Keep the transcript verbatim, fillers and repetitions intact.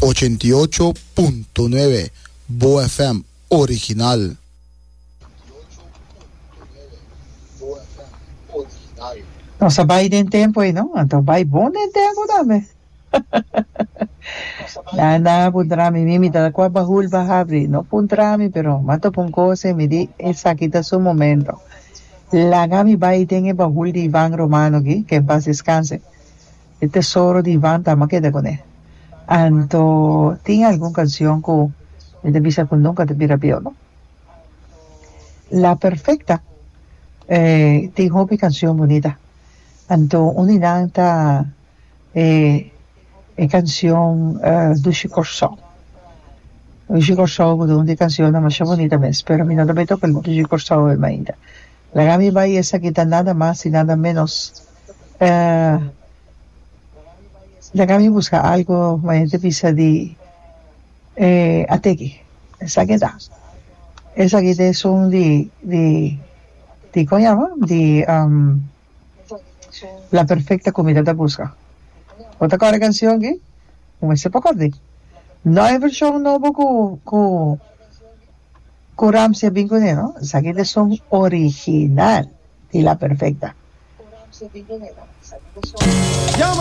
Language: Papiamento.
Ochenta i ocho punto nuebe Bo F M original. Nos a bai den tempo ei, no? Anto bai bon den tempo tambe. Na na puntra mi, mi mi ta kua bahul ba habri. No puntra mi, pero m'a topa un kos ei, mi di esaki ta su momento. Laga mi bai den e bahul di Ivan Romano aki, ke en paz descanse. E tesoro di Ivan ta, m'a keda kuné. Anto tin algun kanshon ku mi ta bisa ku nunka ta bira bieu, no? La Perfecta eh, tin hopi kanshon bunita. Anto un di nan ta e e kanshon Dushi Kòrsou. Dushi Kòrsou ku ta un di e kanshonnan masha bunita mes, pero mi no ta bai toka Dushi Kòrsou e mainta. Laga mi bai esaki ta nada mas i nada ménos. Laga mi buska algo ma hende bisa di e ateki. Esaki ta. Esaki ta esun di di di kon yama? Di La Perfecta ku mi ta ta buska. Bo ta kòrda e kanshon aki? Bo mester por kòrda. No e vershon nobo ku ku ku Ramsey a bin kuné no. Esaki ta esun original di La Perfecta.